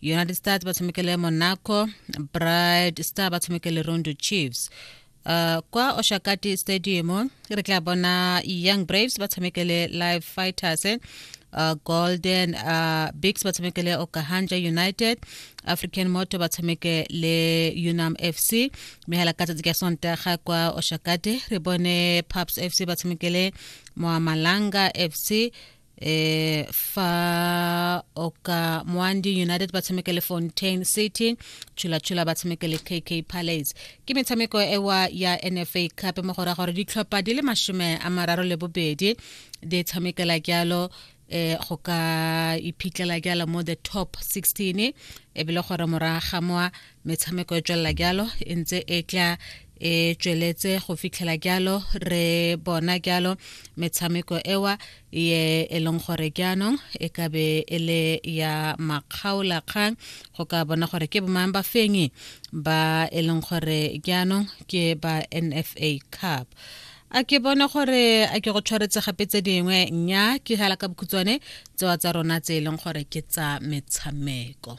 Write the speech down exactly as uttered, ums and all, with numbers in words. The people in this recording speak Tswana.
United Stars ba tshameke le Monaco, Bright Star ba tshameke le Rondo Chiefs. Uh, kwa Oshakati Stadium re tla bona Young Braves ba tshameke le Live Fighters, uh, Golden uh, Bigs ba tshameke le Okahanja United, African Moto ba tshameke le Unam F C. Mme hela ka tsatsi ka Sontaga kwa Oshakati re bone Pups F C ba tshameke le Moamalanga F C, eh fa Oka Mwandi United ba tshameke le Fontaine City, Chula Chula ba tshameke le K K Palace. Ke metshameko ewa ya N F A Cup mo go ra gore ditlhopha di le mashome a mararo le bobedi di tshamekela jalo eh go ka iphitlhela jalo mo the top sixteen, ebile gore morago ga moa metshameko e tswelela jalo e ntse e tla e tsweletse go fitlhela jalo re bona jalo metshameko ewa ye e leng gore jaanong e ka be e le ya makgaolakgang go ka bona gore ke bomang ba fenyi ba e leng gore jaanong ke ba N F A Cup. A ke bone gore a ke go tshwaretse gape tse dingwe. Nya ke hela ka bokhutshwane tsewa tsa rona tse e leng gore ke tsa metshameko.